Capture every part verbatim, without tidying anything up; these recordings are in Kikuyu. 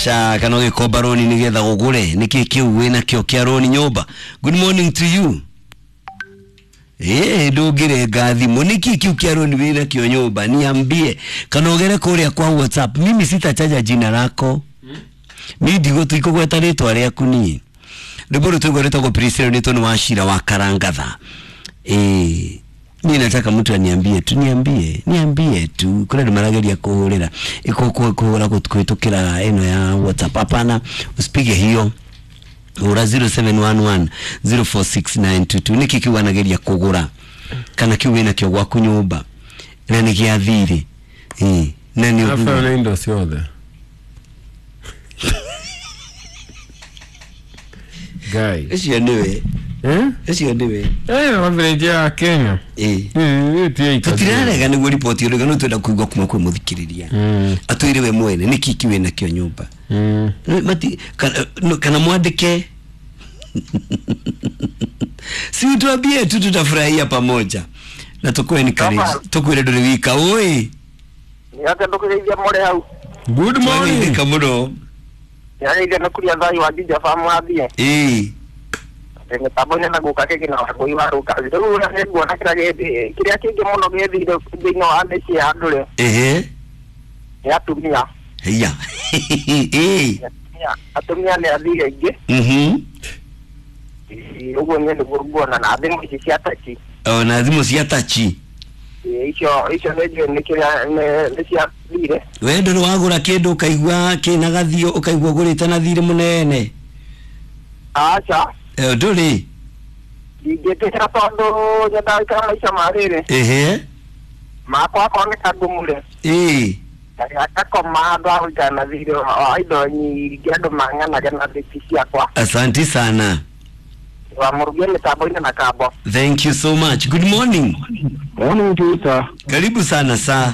Sha kana ũgĩkomba roni nĩgetha ũgũre nĩkĩ kĩu wĩna kĩo kĩa roni nyũmba. Good morning to you. Eh, ndũngĩrenga thimũ nĩkĩ kĩu kĩa roni wĩna kĩo nyũmba niambie kana ũgere kũrĩa kwa WhatsApp. Mimi sitataja jina lako. Ni ndigo tuikũgweta rĩtwa rĩaku niĩ. Rwĩmbo rũu tũigua rwĩtagwo Priscilla nĩ tondũ wa Shira wa Karangatha. Eh, mimi nataka mtu aniambie tu, niambie, niambie tu. Kuna andũ marageria kũhũrĩra kũhũra kũhĩtũkĩra ĩno ya WhatsApp. Hapana, usipige hiyo. Hũra zero seven one one zero four six nine two two. Nĩkĩ kĩu anageria kũgũra kana kĩu wĩna kĩo gwaku nyũmba na nĩ gĩa thirĩ? Eh, na nĩ Rafael nĩ indo ciothe. Guy. Ũcio nĩwe. Eh? Ũcio nĩwe. Eh, average ya Kenya. Eh. Eh, eh, tutirarega nĩguo riboti ũrega no twenda kũigua kuma kwĩ mũthikĩrĩria. Mm. Atwĩre we mwene nĩkĩ kĩu wĩna kĩo nyũmba. Mm. Mati kana, no, kana mwandĩke. Si utuambie tu tutafurahia pamoja. Na tukue ni karibu. Tukwire ndũrĩ wika oi. Nĩate ndũkũgeithia mũrĩ hau. Good morning. Twagĩithĩka mũno. Nĩageithia nĩ kũrĩa thayũ wa Jinja Farm wathiĩ. Eh. Mĩtambo-inĩ na gũka kĩngĩ na wangũi wa rũka. Rĩu ũrĩa nĩnguona kĩrĩa gĩthi- kĩrĩa kĩngĩ mũno gĩthire thĩinĩ wa mĩciĩ ya andũ rĩ Ehe. nĩ atumia. Heya. Eh. Atumia- Atumia nĩ athiri aingĩ. Mhm. Ĩĩ, ũguo niĩ nĩguo nguona na thimũ ici cia tachi. O na thimũ cia tachi. Ĩĩ, icio icio nĩ njũĩ nĩ kĩrĩa nĩ nĩ cia thirĩ. We ndũrĩ wagũra kĩndũ ũkaigua kĩna gathio ũkaigua ũgũrĩte na thirĩ mũnene. Aca. Eh, ndũrĩ. Ndingĩtĩkĩra tondũ nyendaga gũikara maica ma rĩrĩ. Ehe. Makwa akorwo nĩ kangũmũre. Ĩĩ. Ngakoma handũ ha gũikara na thirĩ wa indo nyingĩ andũ mang'anage na thiti ciakwa. Asante sana. Wa mũrugie mĩtambo-inĩ na kambo. Thank you so much. Good morning. Morning Peter. Karibu sana sa.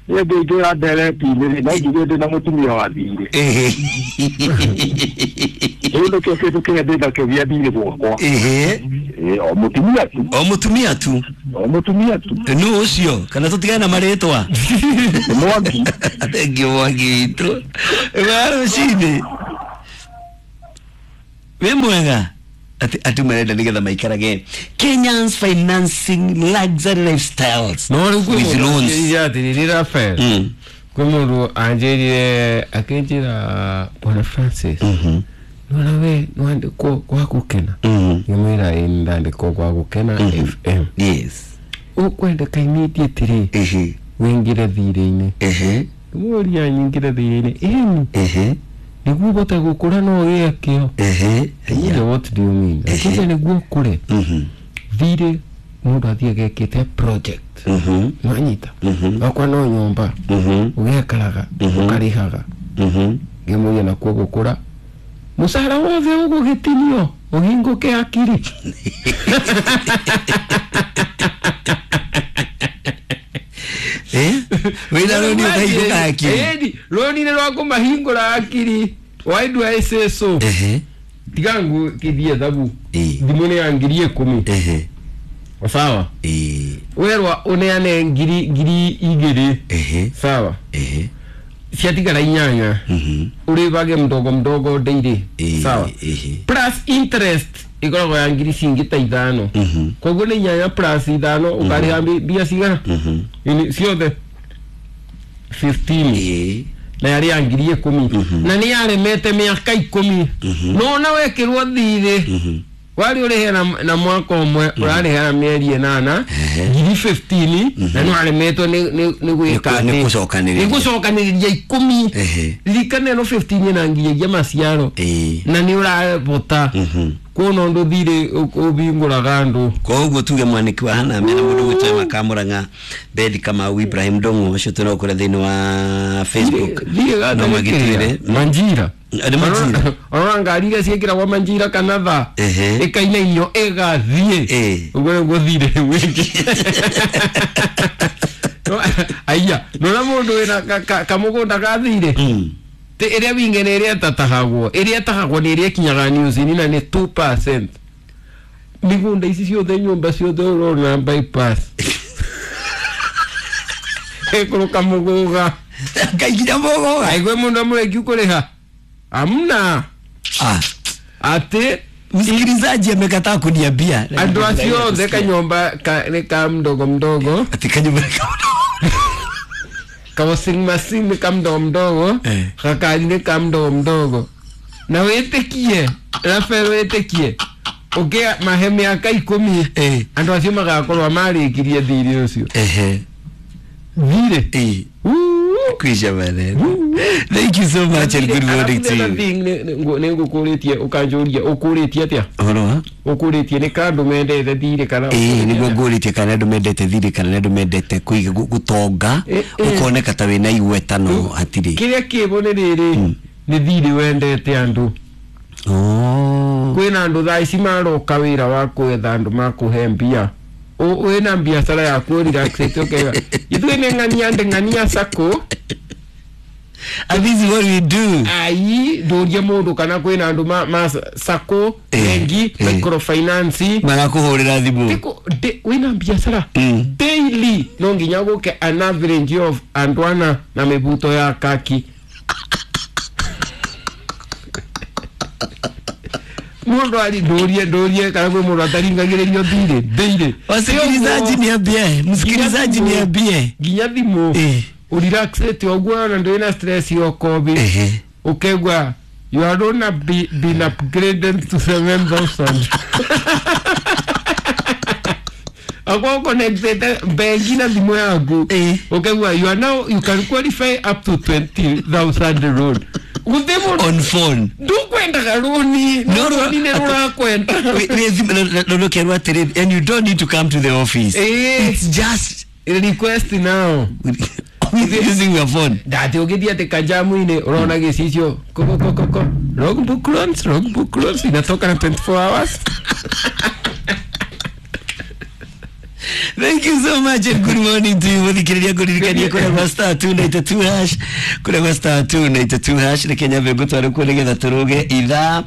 Niĩ ngĩingĩra ndereti-inĩ no njigue ndĩ na mũtumia wa thirĩ. Ehe. Rĩu nĩkĩo kĩndũ kĩrĩa ndĩ nakĩo gĩa thirĩ gwakwa. Ehe. Ĩĩ, o mũtumia tu. O mũtumia tu. O mũtumia tu. Nũ ũcio kana tũtigane na marĩtwa. Nĩ Mwangi. Thank you Mwangi witũ. Wa rũcinĩ. Wĩ mwega. Ati ati marenda nĩgetha maikarage Kenyans financing luxury lifestyles No rĩu kwĩ with mũndũ loans. anjĩrire atĩrĩrĩ Rafael. Mm. Kwĩ mũndũ anjĩrire akĩnjĩra Bwana Francis. Mhm. Nĩwona we nĩwandĩkwo gwa gũkena. Mhm. Ngĩmwĩra ĩĩ nĩndandĩkwo gwa gũkena Mhm. F M. Yes. Ũkwendeka immediately Ehe. wĩingĩre thirĩ-inĩ. Ehe. Ngĩmũria nyingĩre thirĩ-inĩ. Ĩni Ehe. nĩguo ũhote gũkũra no ũgĩe kĩo. Ehe. Ngĩmũria what do you mean? Ehe. Akĩnjĩra nĩguo ũkũre Mhm. thirĩ mũndũ athiĩ agekĩte project. Mhm. Nĩwanyita? Mhm. Wakwa no nyũmba Mhm. ũgekaraga Mhm. ũkarĩhaga. Mhm. Ngĩmũria nakuo gũkũra mũcara wothe ũgũgĩtinio ũhingũke akiri. Eh? Wĩna rũni ũkahingũka akiri. Ĩni rũni nĩ rwa kũmahingũra akiri. Why do I say so? Ehe. Tiga ngũkithie thabu. Ĩĩ. Thimũ nĩ ya ngiri ikũmi. Ehe. Sawa. Ĩĩ. Werwa ũneane ngiri ngiri igĩrĩ. Ehe. Sawa. Ehe. Ciatigara inyanya. Mhm. Ũrĩvage mdogo mdogo daily. Ĩĩ. Sawa. Ehe. Plus interest ĩkoragwo ya ngiri cingĩ ta ithano. Mhm. Koguo nĩ inyanya plus ithano ũkarĩha mbi- mbia cigana? Mhm. Ini ciothe fifteen. Ĩĩ. Na yarĩ ya ngiri ikũmi. Mhm. Na nĩ yaremete mĩaka ikũmi. Mhm. No ona wekĩrwo thirĩ Mhm. warĩ ũrĩhe na, na mwaka ũmwe ũrarĩha na mĩeri ĩnana Ehe. ngiri fifteen na nĩ waremetwo nĩ nĩ nĩ gwĩka Nĩ kũ- nĩ atĩ? gũcokanĩrĩria. Nĩ gũcokanĩrĩria ikũmi. Ehe. Ririkana ĩno fifteen ĩna nginyagia maciaro Ĩĩ. na nĩ ũrabota Mhm. kuona ũndũ thirĩ ũhingũraga andũ. Koguo tuge mwaniki wa hana mena mũndũ gwĩtwo Makamũrang'a Bethi Kamau Ibrahim Ndong'o ũcio twĩnao kũrĩa thĩinĩ wa Facebook. Thirĩ No magĩtwĩre. manjira Nĩ manjira. Ona ngari iria ciĩkĩragwo manjira kana tha Ehe. ĩkainainio ĩgathiĩ. Ĩĩ. Ũguo nĩguo thirĩ wĩngĩ. Aiya nona mũndũ wĩna ka- ka- kamũgũnda ga thirĩ Mm. Ti ĩrĩa winge nĩ ĩrĩa ĩtatahagwo ĩrĩa ĩtahagwo nĩ ĩrĩa ĩkinyaga news-inĩ na nĩ two percent. Mĩgũnda ici ciothe nyũmba ciothe ũrona bypass ĩkũrũka mũgũga. Ngai mogoga. Aigwe mundu amureki kuriha amna Ah, ati msikilizaji amekataa kuniambia. andu acio othe kanyomba ka, ni ka mdogo mdogo Ati kanyumba ka ka washing machine ni ka mdogo mdogo Eh. gakari ni ka mdogo mdogo na witikie Rafael witikie ukia mahe miaka ikumi Eh. andu acio magakorwo marikirie thiri ucio Ehe. thiri Eh. Woo! Kwisha maneno. Thank you so much and good morning to you. Nä ngå kå rä tie å kanjå ria å kå rä tie atä a Ũhoro wa? å kå rä tie nä kandå mendete thirä kana Ĩĩ nĩguo ngũrĩtie kana andũ mendete thirĩ kana nĩ andũ mendete kũiga gu- gũtonga Eh, eh. ũkoneka ta wĩna igweta no hatirĩ. kä rä a kä bo nä rä rä nä thirä wendete andå Oh. kwä na andå thaa ici maroka wä ra wa kwetha andå makå mbia wä na biacara yaku relaxĩte ũkauga ithuĩ nĩ ng'ania ndĩ ng'ania sacco And this is what we do. ai ndũrie mũndũ kana kwĩna andũ ma, ma sacco Eh, bengi eh. microfinance Marakũhũrĩra thimũ. Tiko, de, wĩna biacara Mm. daily no nginya gũke an average of andũ ana na mĩbuto ya kaki mũndũ ari ndũrie ndũrie kana kwĩ mũndũ ataringagĩrĩrio thirĩ daily Wasikilizaji niambie, msikilizaji Nginya thimũ. niambie. nginya thimũ Eh. ũrelaxĩte ũguo ona ndũrĩ na stress ya ũkombi Ehe. ukegwa you are gonna be been upgraded to seven thousand akwa connected bengi na thimu yaku Eh. ukegwa you are now you can qualify up to twenty thousand loan guthi mundu On phone. ndukwendaga runi No, no. runi ni rurakwenda We- we- thimũ- no, no, no, kerwo atĩrĩrĩ, and you don't need to come to the office. Eh. It's just request now with using your phone. ndati ũgĩthiĩ atĩ kajamu-inĩ ũrona gĩcicio kokokokoko logbook loans logbook loans inatoka na twenty-four hours. Thank you so much and good morning to you. Muthikiriria ngũririkanie kũrĩa gwa star two ninety-two hash kũrĩa gwa star two ninety-two hash reke nyambe ngũtware kuo nĩgetha tũrũge ithaa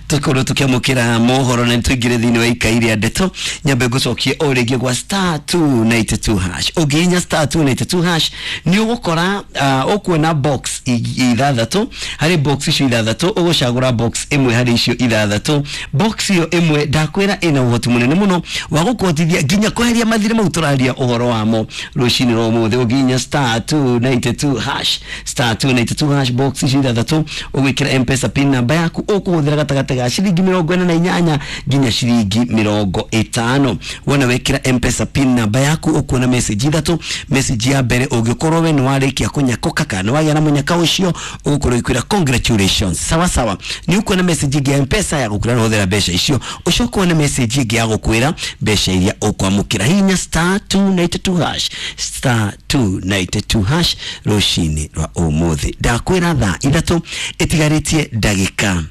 tũkorwo tũkĩamũkĩra mohoro na tũingĩre thĩinĩ wa ikai rĩa ndeto. Nyambe ngũcokie o rĩngĩ gwa star two ninety-two hash. Ũngĩhihinya star two ninety-two hash nĩ ũgũkora uh, ũkuona box i- ithathatũ. Harĩ box icio ithathatũ ũgũcagũra box ĩmwe harĩ icio ithathatũ. Box ĩyo ĩmwe ndakwĩra ĩna ũhoti mũnene mũno wa gũkũhotithia nginya kweheria mathirĩ mau tũraria ũhoro wamo rũcinĩ rwa ũmũthĩ. Ũngihihinya star two ninety-two hash star two ninety-two hash box icio ithathatũ ũgwĩkĩra mpesa pin namba yaku ũkũhũthĩra gatagatĩ ga ciringi mĩrongo ĩna na inyanya nginya ciringi mĩrongo ĩtano. Wona wekĩra mpesa pin namba yaku ũkuona message ithatũ. Message ya mbere ũngĩkorwo we nĩ warĩkia kũnyakũka kana nĩ wagĩa na mũnyaka ũcio ũgũkorwo ĩkwĩra congratulations sawa sawa. Nĩ ũkuona message ĩngĩ ya mpesa ya gũkwĩra nĩ ũhũthĩra mbeca icio. Ũcoke wone message ĩngĩ ya gũkwĩra mbeca iria ũkwamũkĩra. Hihinya star two ninety-two hash star two ninety-two hash rũcinĩ rwa ũmũthĩ. Ndakwĩra thaa ithatũ ĩtigarĩtie ndagĩka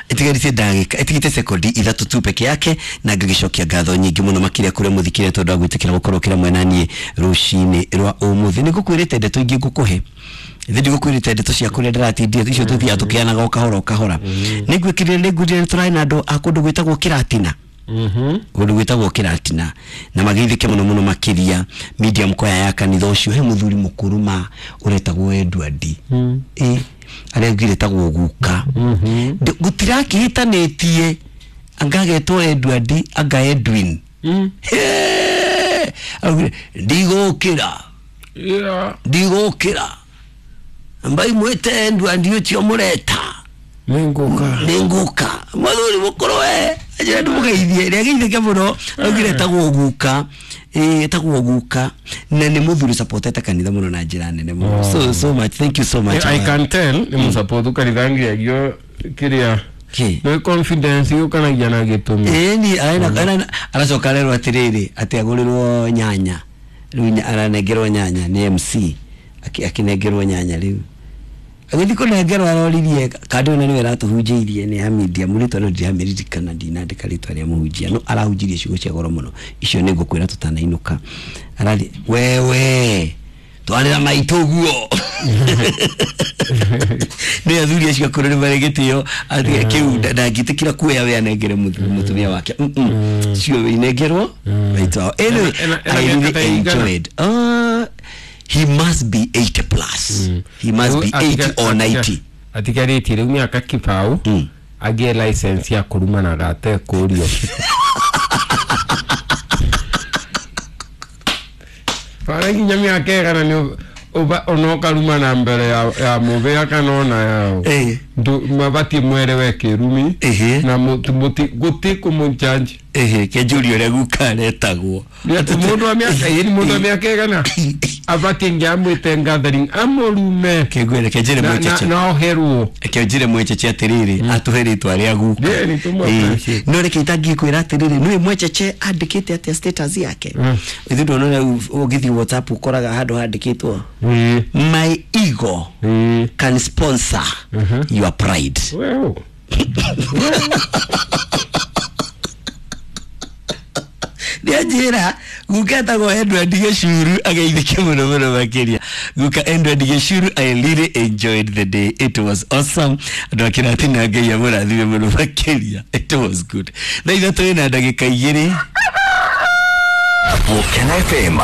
ĩtigarĩtie ndagĩka ĩtigĩte sekondi ithatũ tu peke yake na ngagĩcokia ngatho nyingĩ mũno makĩria kũrĩa mũthikĩria tondũ wa gwĩtĩkĩra gũkorwo kĩra mwena niĩ rũcinĩ rwa ũmũthĩ. Nĩ ngũkwĩrĩte ndeto ingĩ ngũkũhe ithe ndigũkwĩrĩte ndeto cia kũrĩa ndĩratindia icio tũthiaga tũkĩanaga o kahora o kahora. Nĩ ngwĩkĩrire nĩ ngwĩrire tũrarĩ na andũ a kũndũ gwĩtagwo Kĩratina kũndũ gwĩtagwo Kĩratina na mageithĩke mũno mũno makĩria medium kwaya ya kanitha ũcio. He mũthuri mũkũrũ ma ũretagwo Edward ĩ arĩa ngire etagwo guka. Ndĩ- gũtirakĩhĩtanĩtie anga agetwo Edward anga Edwin. Hee! Augire, ndigũkĩra Yeah. ndigũkĩra mbai mwĩte Edward ũcio mũreta Nĩngũka. nĩngũka mũthuri mũkũrũ we anjĩra ndĩmũgeithie nĩageithĩke mũno augire etagwo guka ĩ etagwo guka na nĩ mũthuri supportete kanitha mũno na njĩra nene mũno. So so much thank you so much. I can tell nĩ mũsapothu kanitha ngiagio kĩrĩa Kĩ? nĩ confidence yũkanagia na gĩtũmi. Ĩni arena aracoka arerwo atĩrĩrĩ atĩ agũrĩrwo nyanya rĩu nya- aranengerwo nyanya nĩ M C Akĩ- akĩnengerwo nyanya rĩu agĩthiĩ kũnengerwo aroririe kandi ona nĩwe ĩratũhunjĩirie nĩ ya media mũrĩtwa no ndiramĩririkana ndinandĩka rĩtwa rĩa mũhunjia no arahunjirie ciugo cia goro mũno icio nĩ ngũkwĩra tũtanainũka arari wewe twarĩra maitũ guo nĩ athuri acio akũrũ nĩ marĩ gĩtĩo atĩ kĩu nda- ndangĩtĩkĩra kuoya we anengere mũthu- mũtumia wake. Mm, mm. Cio inengerwo maitũ wao. Anyway, Ena- ena I mĩaka really ta ĩigana? enjoyed. Uh, He must be eighty plus. He must be eighty or ninety. Atigarĩtie rĩu mĩaka kibao Mm. agĩe license ya kũrumanaga atekũrio. Bara nginya mĩaka ĩgana nĩ ũba- ona ũkarumana mbere ya, ya mũbĩa kana ona yao. Eh. Mabatiĩ mwerewe kĩrumi Ehe. na gũti kũmũnjanji. Ehe, kenjũria ũrĩa guka aretagwo. Mũndũ wa mĩaka ĩĩ nĩ mũndũ wa mĩaka ĩgana abatiĩ ngiamwĩte gathering amũrume Kengwĩre kenjĩre na- na- mwĩcheche. na oherwo. Kenjĩre mwĩcheche atĩrĩrĩ, atũhe rĩtwa rĩa guka. Ĩĩ, nĩ tũmũ Ĩĩ. appreciate. No reke itangĩkwĩra atĩrĩrĩ, nĩũĩ mwĩcheche andĩkĩte atĩa status yake? Mm. Ithuĩ ndona rĩu ũgĩthiĩ WhatsApp ũkoraga handũ handĩkĩtwo Ĩĩ. "My ego Ĩĩ. can sponsor Mhm. your pride." Well. Nĩanjĩra guka etagwo Edward Gĩcuru, ageithĩke mũno mũno makĩria. Guka Edward Gĩcuru, I really enjoyed the day, it was awesome. Andũ akĩratina, Ngai amũrathime mũno makĩria, it was good. Thaa ithatũ ĩna ndagĩka igĩrĩ. Volcano F M.